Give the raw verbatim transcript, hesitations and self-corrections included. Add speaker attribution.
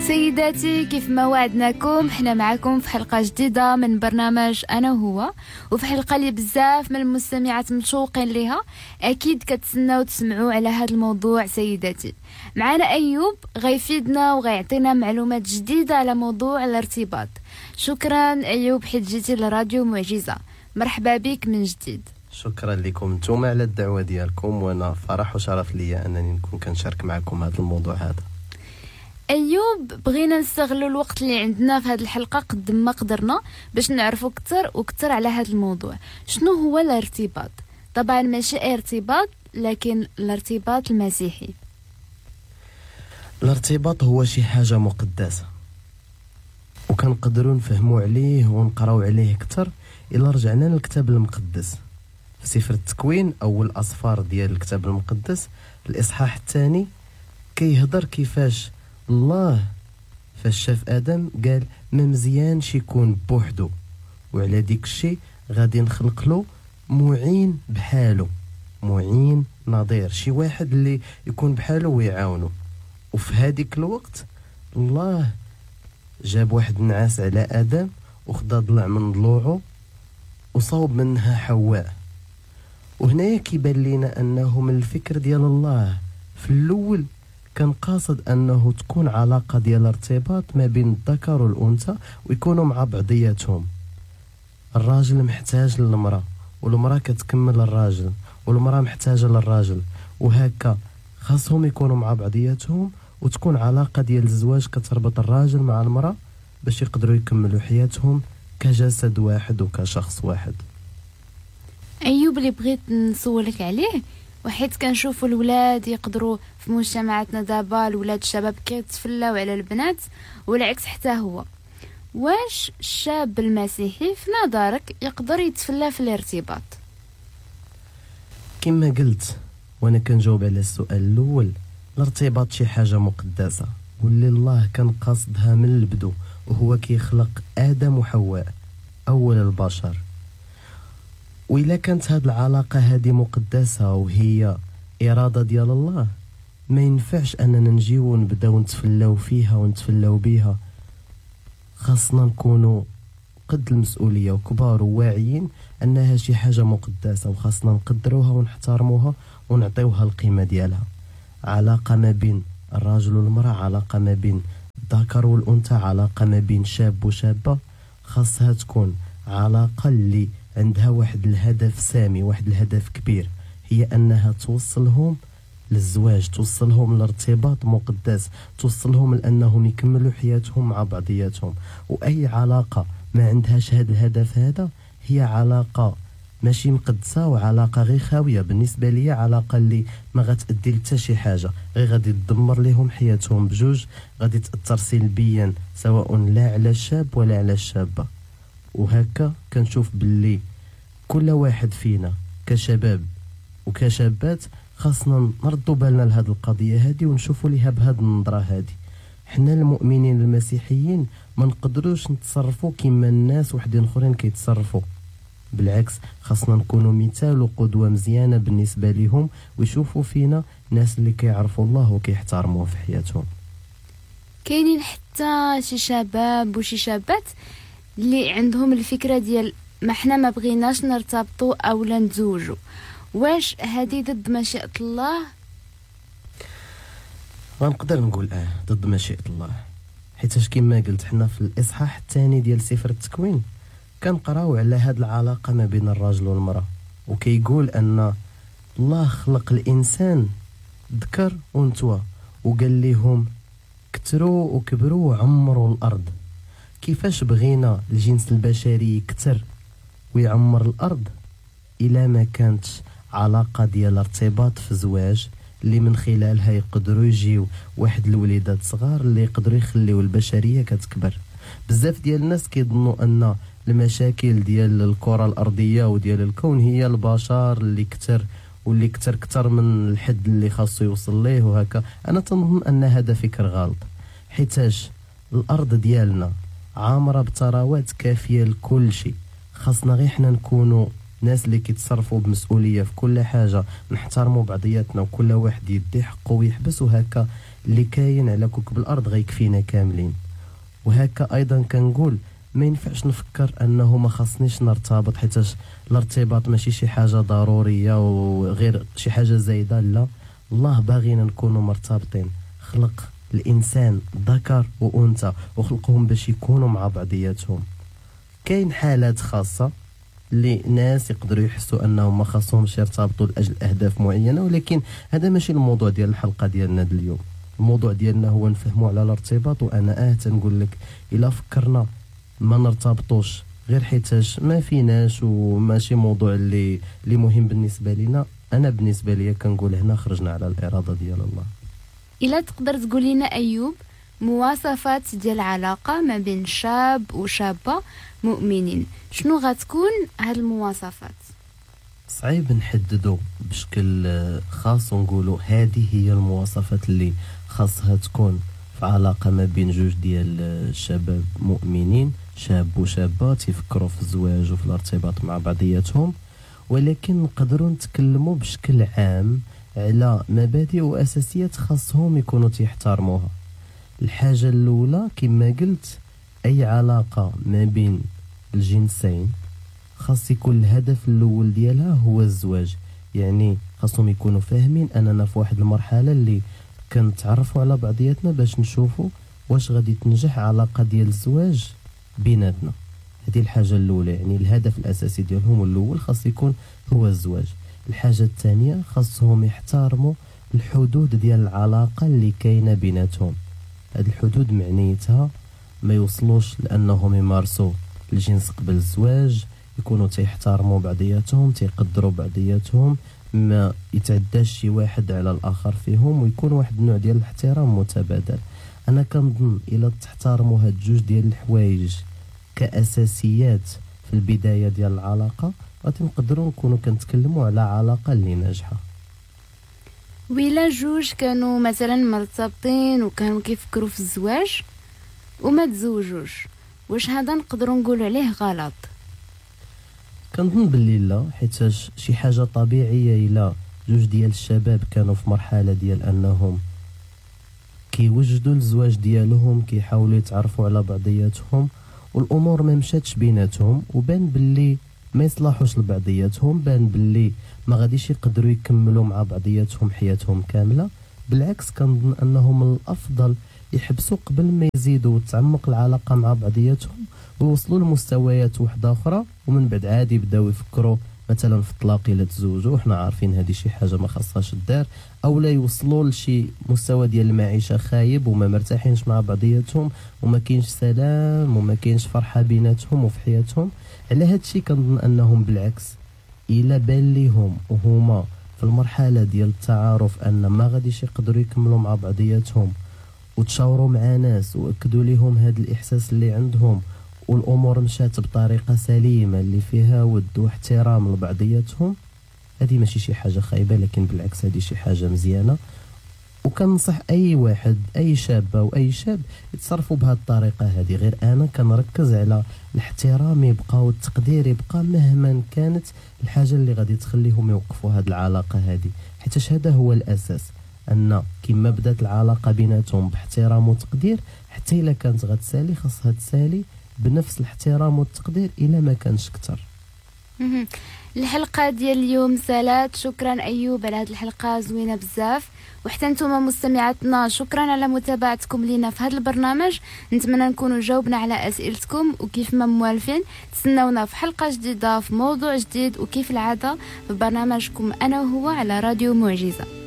Speaker 1: سيداتي، كيف ما وعدناكم حنا معكم في حلقة جديدة من برنامج أنا وهو، وفي حلقة اللي بزاف من المستمعات متشوقين ليها، أكيد كتسناو تسمعوا على هذا الموضوع. سيداتي، معنا أيوب غيفيدنا وغيعطينا معلومات جديدة على موضوع الارتباط. شكرا أيوب حيت جيتي لراديو معجزة، مرحبا بك من جديد.
Speaker 2: شكرا لكم نتوما على الدعوة ديالكم، وانا فرح وشرف ليا انني نكون كنشارك معكم هذا الموضوع هذا.
Speaker 1: ايوب، بغينا نستغلوا الوقت اللي عندنا في هذه الحلقة قد ما قدرنا باش نعرفوا اكثر واكثر على هذا الموضوع. شنو هو الارتباط؟ طبعا ماشي ارتباط، لكن الارتباط المسيحي.
Speaker 2: الارتباط هو شي حاجة مقدسة وكنقدروا نفهموا عليه ونقراو عليه اكثر الا رجعنا للكتاب المقدس. في سفر التكوين اول اصفار ديال الكتاب المقدس الاصحاح الثاني كيهضر كيفاش الله فاش شاف ادم قال ما مزيانش يكون بوحدو، وعلى ديك الشيء غادي نخلق له معين بحالو، معين نظير، شي واحد اللي يكون بحالو ويعاونو. وفي هذيك الوقت الله جاب واحد النعاس على ادم وخدا ضلع من ضلوعه وصوب منها حواء. وهنايا كيبان لينا انه من الفكر ديال الله في الاول كان قاصد انه تكون علاقة ديال ارتباط ما بين الذكر والانثى ويكونوا مع بعضياتهم. الراجل محتاج للمراة، والمراة كتكمل الراجل، والمراة محتاجه للراجل، وهكا خاصهم يكونوا مع بعضياتهم وتكون علاقة ديال الزواج كتربط الراجل مع المراة باش يقدروا يكملوا حياتهم كجسد واحد وكشخص واحد.
Speaker 1: ايوب، اللي بغيت نسولك عليه، وحيت كنشوفوا الولاد يقدروا في مجتمعاتنا دابا الولاد الشباب كيتفلاو على البنات والعكس حتى هو، واش الشاب المسيحي في نظرك يقدر يتفلى في الارتباط؟
Speaker 2: كما قلت وانا كنجاوب على السؤال الاول، الارتباط شي حاجة مقدسة واللي الله كان قاصدها من البدو، وهو كيخلق ادم وحواء اول البشر. وإلا كانت هاد العلاقة هادي مقدسة وهي إرادة ديال الله، ما ينفعش أننا نجيو ونبداو نتفلاو فيها ونتفلاو بيها. خاصنا نكونوا قد المسؤولية وكبار وواعيين أنها شي حاجة مقدسة، وخاصنا نقدروها ونحترموها ونعطيوها القيمة ديالها. علاقة ما بين الراجل والمرأة، علاقة ما بين الذكر والأنثى، علاقة ما بين شاب وشابة، خاصها تكون علاقة اللي عندها واحد الهدف سامي، واحد الهدف كبير، هي أنها توصلهم للزواج، توصلهم لارتباط مقدس، توصلهم لأنهم يكملوا حياتهم مع بعضياتهم. وأي علاقة ما عندهاش هذا الهدف هذا هي علاقة ماشي مقدسة وعلاقة غير خاوية. بالنسبة لي علاقة اللي ما غتأدي لتا شي حاجة، غير غادي تدمر لهم حياتهم بجوج، غادي تأثر سلبيا سواء لا على الشاب ولا على الشابة. وهكا كنشوف باللي كل واحد فينا كشباب وكشابات خاصنا نردوا بالنا لهاد القضية هادي ونشوفوا ليها بهاد النظرة هادي. حنا المؤمنين المسيحيين ما نقدروش نتصرفوا كما الناس وحدين اخرين كيتصرفوا، بالعكس خاصنا نكونوا مثال وقدوة مزيانة بالنسبة لهم، ويشوفوا فينا ناس اللي كيعرفوا الله وكيحترموه في حياتهم.
Speaker 1: كاينين حتى شي شباب وشي شابات اللي عندهم الفكرة ديال ما حنا ما بغيناش نرتبطوا او لا نتزوجوا، واش هذه ضد مشيئة الله؟
Speaker 2: غنقدر نقول اه ضد مشيئة الله، حيتاش كما قلت حنا في الاصحاح الثاني ديال سفر التكوين كنقراو على هاد العلاقة ما بين الراجل والمرأة، وكيقول ان الله خلق الانسان ذكر وانثى وقال لهم كثروا وكبروا وعمروا الارض. كيفاش بغينا الجنس البشري يكثر ويعمر الارض الا ما كانتش علاقة ديال ارتباط في زواج اللي من خلالها يقدروا يجيو واحد الوليدات صغار اللي يقدروا يخليو البشرية كتكبر. بزاف ديال الناس كيظنوا ان المشاكل ديال الكره الارضية وديال الكون هي البشر اللي كثر واللي كثر كثر من الحد اللي خاصو يوصل ليه وهكا. انا تنظن ان هذا فكر غلط، حيتاش الارض ديالنا عامرة بثروات كافيه لكل شيء. خاصنا غير حنا نكونوا ناس اللي كيتصرفوا بمسؤولية في كل حاجة، نحترموا بعضياتنا وكل واحد يدي حقه ويحبس، وهكا اللي كاين على كوكب الارض غيكفينا كاملين. وهكا ايضا كنقول ما ينفعش نفكر انه ما خاصنيش نرتبط، حيتاش الارتباط ماشي شي حاجة ضرورية وغير شي حاجة زايدة. لا، الله باغينا نكونوا مرتبطين. خلق الانسان ذكر وانثى وخلقهم باش يكونوا مع بعضياتهم. كاين حالات خاصة اللي ناس يقدروا يحسوا انهم ما خاصهمش يرتبطوا لاجل اهداف معينة، ولكن هذا ماشي الموضوع ديال الحلقة ديالنا اليوم. الموضوع ديالنا هو نفهموا على الارتباط. وانا اه تنقول لك الا فكرنا ما نرتبطوش غير حيتاش ما فيناش وماشي موضوع اللي اللي مهم بالنسبة لنا، انا بالنسبة لي كنقول هنا خرجنا على الارادة ديال الله.
Speaker 1: الا تقدر تقول لنا ايوب مواصفات ديال العلاقة ما بين شاب وشابه مؤمنين، شنو غتكون هاد المواصفات؟
Speaker 2: صعيب نحددو بشكل خاص ونقولوا هذه هي المواصفات اللي خاصها تكون في علاقة ما بين جوج ديال الشباب مؤمنين، شاب وشابه تيفكروا في الزواج وفي الارتباط مع بعضياتهم. ولكن نقدروا نتكلموا بشكل عام على مبادئ واساسيات خاصهم يكونوا تيحترموها. الحاجة الاولى كما قلت، اي علاقة ما بين الجنسين خاص يكون الهدف الاول ديالها هو الزواج. يعني خاصهم يكونوا فاهمين اننا في واحد المرحلة اللي كنتعرفوا على بعضياتنا باش نشوفوا واش غادي تنجح علاقة ديال الزواج بيناتنا. هذه الحاجة الاولى، يعني الهدف الاساسي ديالهم الاول خاص يكون هو الزواج. الحاجة الثانية خاصهم يحترموا الحدود ديال العلاقة اللي كاينه بيناتهم. هاد الحدود معنيتها ما يوصلوش لانهم يمارسوا الجنس قبل الزواج، يكونوا تيحترموا بعضياتهم، تيقدروا بعضياتهم، ما يتعداش شي واحد على الاخر فيهم، ويكون واحد النوع ديال الاحترام متبادل. انا كنظن الا تحترموا هاد جوج ديال الحوايج كاساسيات في البداية ديال العلاقة غادي نقدروا نكونوا كنتكلموا على علاقة اللي ناجحة.
Speaker 1: ويلا جوج كانوا مثلا مرتبطين وكانوا كيفكروا في الزواج وما تزوجوش، واش هذا نقدروا نقولوا عليه غلط؟
Speaker 2: كنظن باللي لا، حيت شي حاجة طبيعية الا جوج ديال الشباب كانوا في مرحلة ديال انهم كيوجدوا الزواج ديالهم، كيحاولوا يتعرفوا على بعضياتهم، والامور ما مشاتش بيناتهم وبان باللي ما يصلحوش لبعضياتهم، بان باللي ما غاديش يقدروا يكملوا مع بعضياتهم حياتهم كاملة. بالعكس كنظن انه من الافضل يحبسوا قبل ما يزيدوا وتعمق العلاقة مع بعضياتهم ويوصلوا لمستويات وحده اخرى، ومن بعد عادي يبداو يفكروا مثلا في الطلاق الا تزوجوا، وحنا عارفين هذه شي حاجة ما خاصهاش الدار، او لا يوصلوا لشي مستوى ديال المعيشة خايب وما مرتاحينش مع بعضياتهم وما كاينش سلام وما كاينش فرحه بيناتهم وفي حياتهم. على هذا الشيء كنظن انهم بالعكس الا بان ليهم وهما في المرحلة ديال التعارف ان ما غاديش يقدروا يكملوا مع بعضياتهم، وتشاوروا مع ناس واكدوا لهم هذا الاحساس اللي عندهم، والامور مشات بطريقة سليمة اللي فيها ود واحترام لبعضياتهم، هذه ماشي شي حاجة خايبة، لكن بالعكس هذه شي حاجة مزيانه. وكنصح اي واحد، اي شابه واي شاب يتصرفوا بهذه الطريقة هذه. غير انا كنركز على الاحترام يبقى والتقدير يبقى مهما كانت الحاجة اللي غادي تخليهم يوقفوا هذه العلاقة هذه، حيت هذا هو الاساس، ان كما بدات العلاقة بيناتهم باحترام وتقدير، حتى الا كانت غتسالي خاصها تسالي بنفس الاحترام والتقدير الا ما كانش اكثر.
Speaker 1: الحلقة ديال اليوم سالات. شكرا ايوب على هذه الحلقة زوينة بزاف، وحتى نتوما مستمعاتنا شكرا على متابعتكم لينا في هذا البرنامج. نتمنى نكونوا جاوبنا على اسئلتكم، وكيف ما موالفين تسناونا في حلقة جديدة في موضوع جديد، وكيف العادة في برنامجكم انا وهو على راديو معجزه.